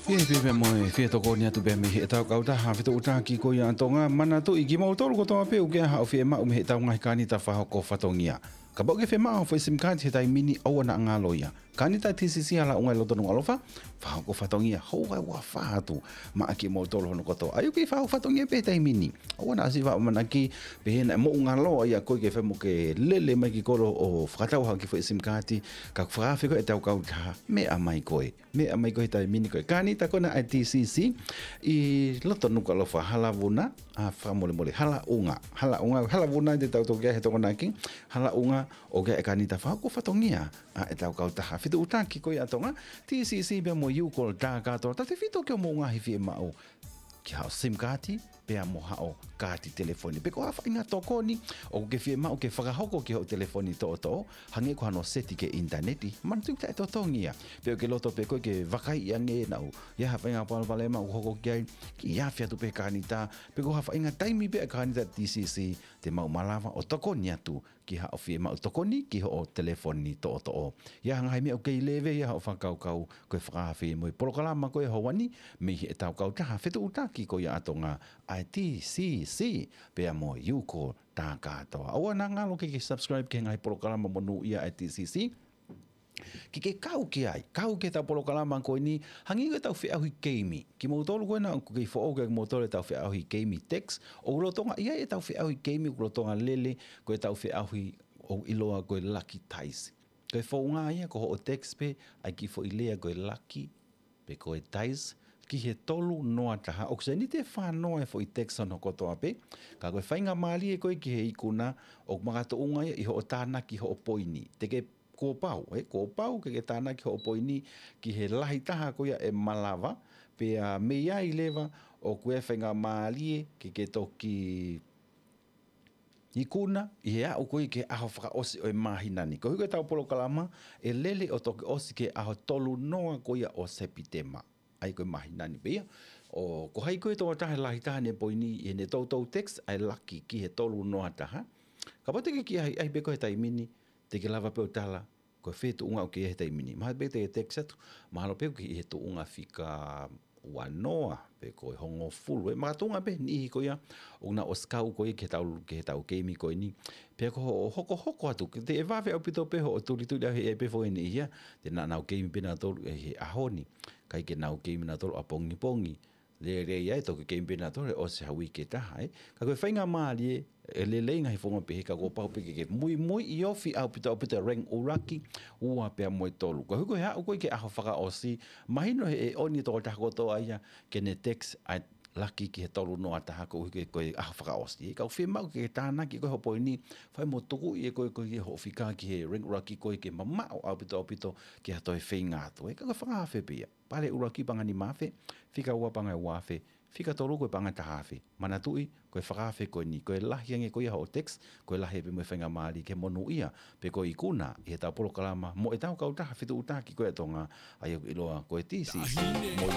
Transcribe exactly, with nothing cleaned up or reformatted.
Pea pea pea mo e fie tokoni atu pea mei heʻetau kautaha fetuʻutaki ko ia ʻa Tonga. Manatuʻi kimoutolu kotoa pē ʻoku ʻi ai haʻo fiemaʻu mei heʻetau ngaahi kānita fakahoko fatongia. Kapau ʻoku ke fiemaʻu foʻi SIM card he taimi ni, ʻoua naʻa ngalo ia. Kānita TCC Halaʻunga ʻi loto Nukuʻalofa, fakahoko fatongia, houa ʻe ua fā atu maʻa kimoutolu hono kotoa. ʻA ia ʻoku kei fakahoko fatongia pē he taimi ni. ʻOua naʻa siʻi faʻa ʻamanaki pē he naʻe moʻungaloa ia koe ke fai mo ke lele mai ki kolo ʻo fakatau ha kiʻi foʻi SIM card, ka ʻoku fakaafe ko ē ʻetau kautaha, meʻa mai koe. Meʻa mai koe he taimi ni ko e kānita ko ena ʻa e TCC ʻi loto Nukuʻalofa, Halavuna, ʻa, fakamolemole, Halaʻunga. Halaʻunga, Halavuna te tau toki ʻai he Tokonaki, Halaʻunga, ʻoku ʻi ai e kānita fakahoko fatongia ʻa ʻetau kautaha fetuʻutaki ko ia ʻa Tonga, TCC pea mo e U-Call tā kātoa, tautefito ki hoʻomou ngaahi fiemaʻu ki haʻo SIM card, pea mo haʻo kaati telefoni. Pe ko ha faʻahinga tokoni ʻoku ke fiemaʻu ke fakahoko ki hoʻo telefoni toʻotoʻo, hangē ko hano seti ki he ʻinitaneti, manatuʻi taʻetotongi ia. Pe ʻoku ke loto pē koe ke vakaiʻi ange naʻa ʻoku ʻi ai ha faʻahinga palopalema ʻoku hoko ki ai, ke afe atu pē kānita, pe ko ha faʻahinga taimi pē ʻa e kānita TCC, te mau malava ʻo tokoni atu ki haʻo fiemaʻu tokoni ki hoʻo telefoni toʻotoʻo. ʻI ai ha ngaahi meʻa ʻoku kei leve ia hoʻo fakakaukau, ko e fakaafe mo e polokalama ko ē ʻo e ʻaho ni mei heʻetau kautaha fetuʻutaki ko ia ʻa Tonga, ʻa e TCC, pea mo e U-Call tā kātoa. ʻOua naʻa ngalo ke ke subscribe ki he ngaahi polokalama monūʻia ʻa e TCC, ke ke kau ki ai, kau ki heʻetau polokalama ko eni, hangē ko ʻetau feʻauhi keimi. Kimoutolu ko ena ʻoku kei foʻou kiate kimoutolu ʻetau feʻauhi keimi text, ʻoku lolotonga ʻi ai ʻetau feʻauhi keimi, ʻoku lolotonga lele, ko ʻetau feʻauhi ʻoku ʻiloa ko e Lucky Dice. Ko e founga ia ko hoʻo text pē ʻa e kiʻi foʻi lea ko e lucky, pe ko e dice, ki he tolu noa taha. ʻOku sēniti ʻe fā noa e foʻi text hono kotoa pē, ka ko e faingamālie ko ē ki he ikuna, ʻoku makatuʻunga ia ʻi hoʻo tānaki hoʻo poini. Te ke kuo pau, ē, kuo pau ke ke tānaki hoʻo poini ki he lahi taha ko ia ʻe malava, pea mei ai leva ʻoku ʻi ai e faingamālie ke ke toki ikuna ʻi he aʻu ko ē ki he ʻaho fakaʻosi ʻo e māhina ni. Koeʻuhi ko ʻetau polokalama ʻe lele ʻo toki ʻosi ki he ʻaho tolu noa ko ia ʻo Sepitema. ʻA ia ko e māhina ni pē ia. ʻO ko hai ko ē tokotaha ʻe lahi taha ʻene poini ʻi heʻene toutou text ʻa e lucky ki he tolu noa taha. Kapau te ke kiʻi ʻahiʻahi pē koe he taimi ni, te ke lava pē ʻo tala ko e fē tuʻunga ʻoku ke ʻi ai he taimi ni. Mahalo pē te ke text atu, mahalo pē ʻoku ke ʻi he tuʻunga fika ua noa, pe ko e hongofulu. ʻE makatuʻunga pē niʻihi ko ia ʻoku nau ʻosi kau ko ia ki heʻetau, ki heʻetau keimi ko eni. Pea ko hoʻo hokohoko atu, ke te ʻe vave ʻaupito pē hoʻo tulituli ʻaʻau he ʻe pē foʻi niʻihi ia, te nau, nau keimi pē nautolu ʻi he ʻaho ni, ʻikai ke nau keimi nautolu ʻapongipongi. Lelei ai, toki keimi pē nautolu he ʻosi ha uike ʻe taha, ē. Ka ko e faingamālie, ʻe lelei ngaahi founga pehē ka kuo pau pē ke ke muimui ʻi ofi ʻaupito ʻaupito e rank ʻuluaki, ua pea mo e tolu. Koeʻuhi ko e aʻu ko ē ki he ʻaho fakaʻosi, mahino he ʻe ʻoni e tokotaha kotoa ia ke ne text ʻa e lucky ki he tolu noa taha koeʻuhi ko e, ko e ʻaho fakaʻosi. Ka ʻoku fiemaʻu ke ke tānaki ko ē hoʻo poini, fai mo tukuʻi ʻe koe ko ē hoʻo fika ki he rank ʻuluaki ko ē ke mamaʻo ʻaupito ʻaupito ki ha toe feinga atu, ē. Ka ko e fakaafe pē ia. Pale ʻuluaki paʻanga nima afe, fika ua paʻanga ua afe, fika tolu ko e paʻanga taha afe. Manatuʻi, ko e fakaafe ko eni, ko e lahi ange ko ia hoʻo text, ko e lahi pē mo e faingamālie ke monūʻia, pe ko e ikuna ʻi heʻetau polokalama mo ʻetau kautaha fetuʻutaki ko ia ʻa Tonga, ʻa ia ʻoku ʻiloa ko e TCC mo e